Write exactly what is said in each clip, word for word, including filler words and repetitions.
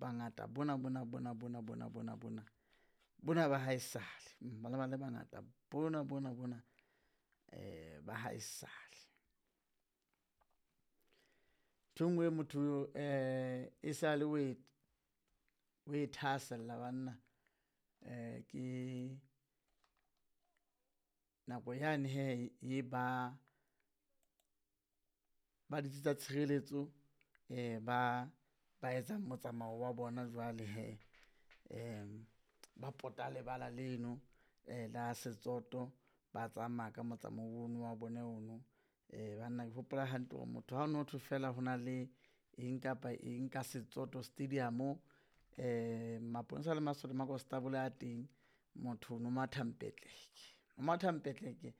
Bangata bona bona bona bona bona bona bona bona ba haesale, ba ne ba le bangata bona bona bona ba haesale. Nthwe nngwe motho e sale o e, o e thahasella banna ke nako yane hee e ba, ba ditsi tsa tshireletso ba ba etsang motsamao wa bona jwale hee ba pota lebala leno la Setsoto, ba tsamaya ka motsamao ono wa bona ono. Banna ke hopola hantle hore motho ha o no thwe fela ho na le eng kapa eng ka Setsoto stadium-o maponesa le masole makonstabolo a teng, motho o no matha mpetleke, o matha mpetleke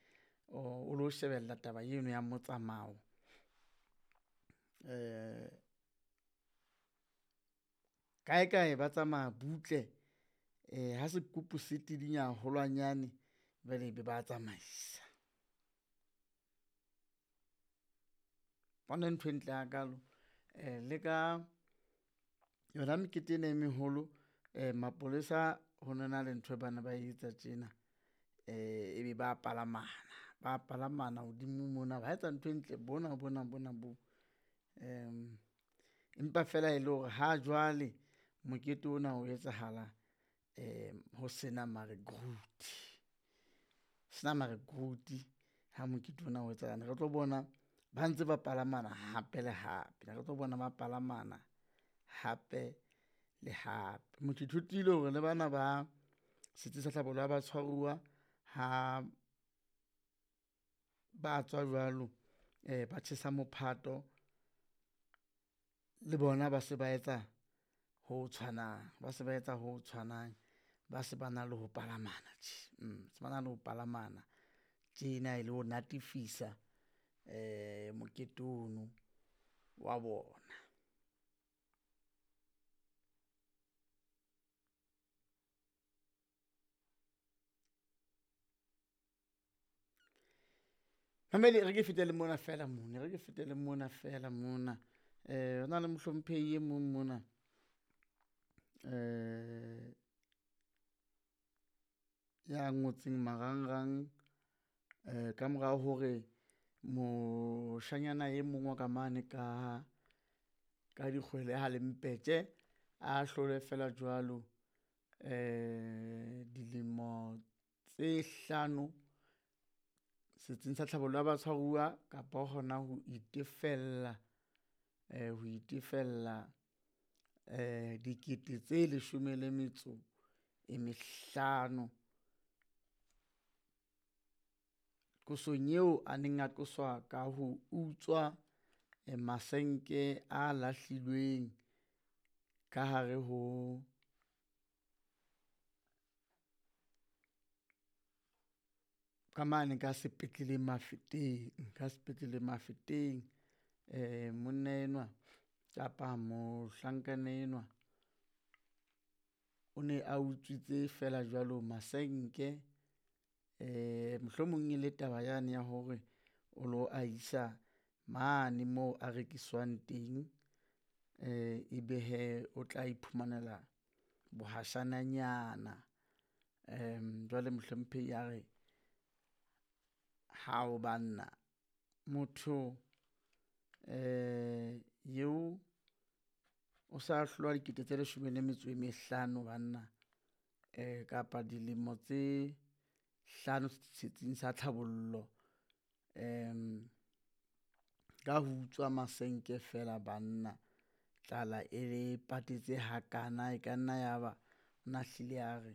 o lo shebella taba eno ya motsamao. Kae kae ba tsamaya butle ha sekupu se tidinya haholwanyane jwale ebe ba tsamaisa. Ntho e ntle hakalo le ka yona mekete ena e meholo mapolesa ho no na le nthwe ba ne ba etsa tjena ebe ba palamana, ba palamana hodimo mona, ba etsa ntho e ntle bona bona bona bo. Empa fela e le hore ha jwale mokete ona o etsahala ho sena marecruit, sena marecruit ha mokete ona o etsahala. Ne re tlo bona ba ntse ba palamana hape le hape, ne re tlo bona ba palamana hape le hape. Motho ithutile hore le bana ba setsi sa tlhabollo ya batshwaruwa ha ba tswa jwalo ba tjhesa mophato, le bona ba se ba etsa ho tshwanang, ba se ba etsa ho tshwanang. Ba se ba na le ho palamana tje se ba na le ho palamana tjena e le ho natefisa mokete ono wa bona. Mamedi e re ke fetele mona feela mona, e re ke fetele mona feela mona. Ho na le mohlomphehi e mong mona ya ngotseng marangrang ka mora hore moshanyana e mong wa ka mane ka, ka Dikgwele ha Lempetje a hlolwe feela jwalo dilemo tse hlano setsing sa tlhabollo ya batshwaruwa kapa hona ho itefella ho itefella dikete tse leshome le metso e mehlano. Qosong eo a neng a qoswa ka ho utswa masenke a lahlilweng ka hare ho, ka mane ka sepetleleng Mafeteng, ka sepetleleng Mafeteng. Monna enwa kapa mohlankana enwa o ne a utswitse feela jwalo masenke mohlomong e le taba yane ya hore o lo a isa mane moo a rekiswang teng ebe hee o tla iphumanela bohashananyana. Jwale mohlomphehi a re, hao banna motho eo o sa hlolwa dikete tse leshome le metso e mehlano banna kapa dilemo tse hlano setsing sa tlhabollo ka ho utswa masenke feela banna. Tlala e le patetse hakana, e ka nna ya ba o na hlile a re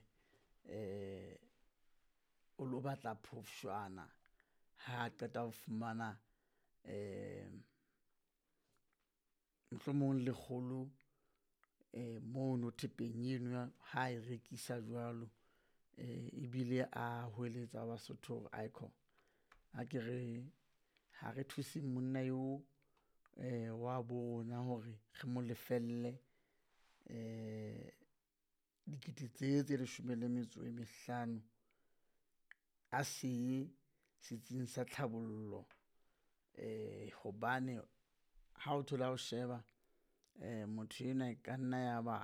o lo batla phofshwana ha qeta ho fumana mohlomong lekgolo mono thepeng eno ha e rekisa jwalo. Ebile a hweletsa Basotho hore aikhona a ke re ha re thuseng monna eo wa bo rona hore re mo lefelle dikete tse tse leshome le metso e mehlano a se ye setsing sa tlhabollo hobane ha o thola o sheba motho enwa e ka nna ya ba.